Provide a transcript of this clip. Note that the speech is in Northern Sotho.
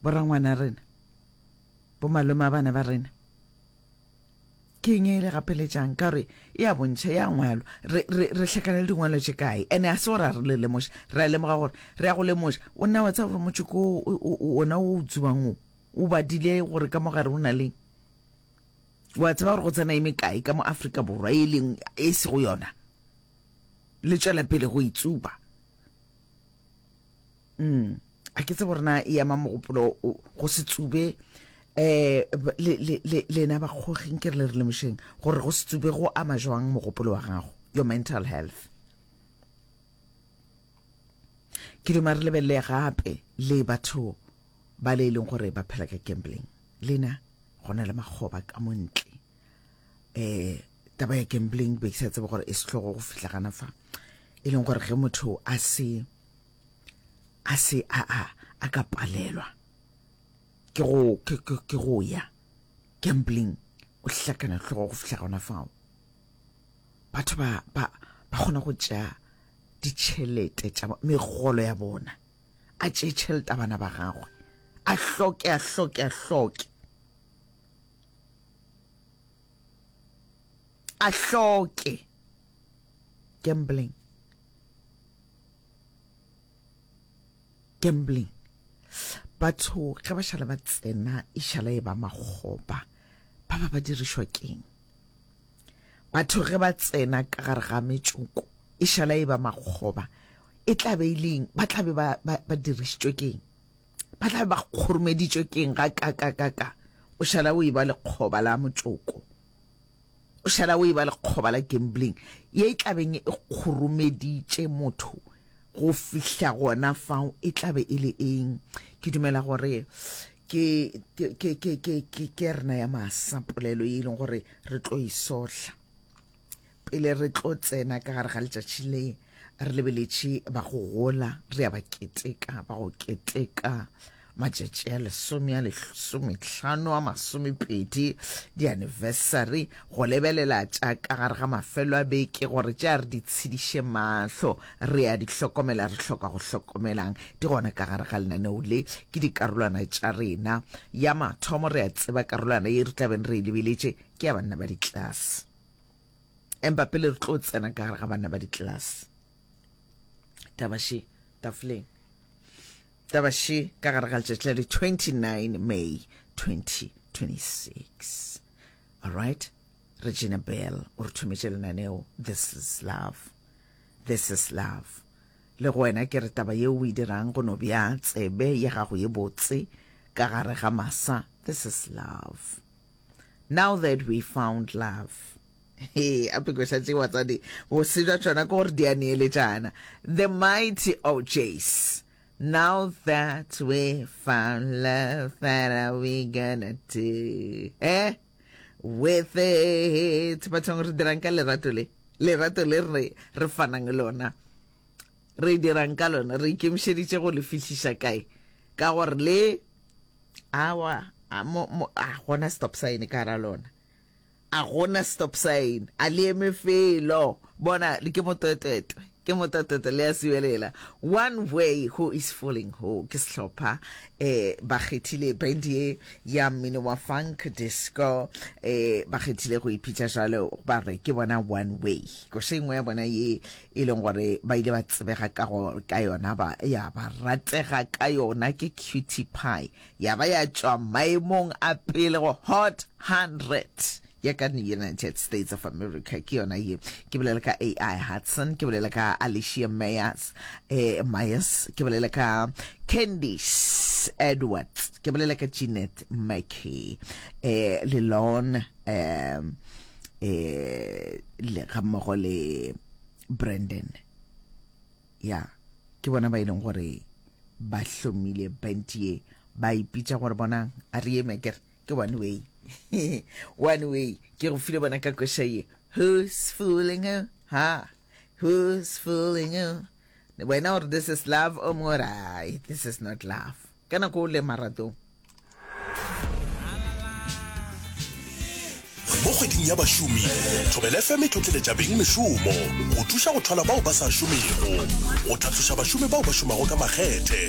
Borangwana rena, bomalome a bana ba rena. Ke eng e le gapeletšang? Ka gore e a bontšha, e a ngwalwa. Re, re, re hlakana le dingwalo tše kae? Ene a se gore a re le lemoša. Re a lemoga gore re ya go lemoša. O nna wa tseba gore motšoko o, o, o, ona o o tsubang o, o badile gore ka mo gare o na leng. Wa tseba gore go tsena e mekae ka mo Afrika Borwa e leng e sego yona. Le tšwela pele go e tsuba. Mm. A ke tsebe gore na e ama mogopolo go se tsube eh le le le lena bakgoging ke re le re lemošeng gore go se tsube go ama jwang mogopolo wa gago your mental health ke duma re lebelele gape le batho ba le e leng gore ba phela ka gambling lena go na le makgoba ka mo ntle um taba ya gambling be ke sa tsebe gore e sehlogo go fihla gana fa e leng gore ge motho a se a se a a a ka palelwa ke go ke ke ke go ya gambling o hlakana hlogo go fihla gona fao batho ba ba ba kgona go tšea ditšhelete tša megolo ya bona a tšee tšhelete a bana ba gagwe a hloke a hloke a hloke a hloke gambling gambling batho ge ba šala ba tsena e šala e ba makgoba ba ba ba dirišwa keng batho ge ba tsena ka gare ga metšoko e šala e ba makgoba e tla be e leng ba tla be ba, ba, ba dirišitšwe keng ba tla be ba kgoromeditšwe keng ga ka ka ka ka o šala o e ba lekgoba la motšoko o šala o e ba lekgoba la gambling ye e tlabeng e kgoromeditše motho go fihla gona fao e tlabe e le eng ke dumela gore ke ke ke ke ke ke ke rena ya masa polelo ye e leng gore re tlo e sohla Pele re tlo tsena ka gare ga letšatši le, re lebeletše ba go gola, re ya ba keteka, ba go keteka matšatši a lesome a lesomehlano a masomepedi, di-anniversary, go lebelela tša ka gare ga mafelo a beke gore tša re di tshediše mahlo, re a di hlokomela, re hloka go hlokomelang, di gona ka gare ga lenaneo le, ke dikarolwana tša rena. Ya mathomo re a tseba karolwana ye re tla beng re e lebeletše ke ya banna ba ditlelase. Empa pele re tlo tsena ka gare ga banna ba ditlelase, taba še tafoleng, taba še ka gare ga letšatši la di 29 May 2026. All right, Regina Bell o re thometše lenaneo This is Love. This is Love. Le go wena ke re taba yeo o e dirang go no bja tsebe ya gago ye botse ka gare ga masa. This is love. Now that we found love. He, a pekoša tše batswadi, bose bja tšona ke gore di a neeletšana. The Mighty O'Jays. Now that we found love, what are we gonna do? Eh? With it. Bathong re dirang ka lerato le? Lerato le re re fanang lona. Re dirang ka lona? Re ikemišeditše go le fihliša kae? Ka gore le Awa, a mo, mo, a gona stop sign ka ra lona. A gona stop sign, a le eme felo. Bona, le ke motwetwetwe, ke motwetwetwe le a sibelela. One way who is fooling who, ke sehlopha, eh, ba kgethile band ye ya mmino wa funk disco, eh, ba kgethile go ipitša jwalo, ba re ke bona one way. Koša e nngwe ya bona ye e leng gore ba ile ba tsebega ka go ka yona ba ya ba ratega ka yona ke Cutie Pie ya ba ya tšwa maemong a pele go Hot 100 ya ka United States of America ke yona ye ke bolela ka AI Hudson ke bolela ka Alicia Myers eh, Myers ke bolela ka Candice Edwards ke bolela ka Jeanette McKee eh, le Lon eh, eh le ga mmogo le Brandon ya ke bona ba e leng gore ba hlomile band ye ba ipitša gore bonang a re eme kere ke one way one way ke go file bona ka koša ye who's fooling who ha who's fooling who wena gore this is love o mongwe gore ai this is not love Ka nako o le maratong. Mo kgweding ya bašomi, Thobela FM e tlhotleletša beng mešomo go thuša go thwala bao ba sa šomego, go tlhatloša bašomi bao ba šomago ka makgethe.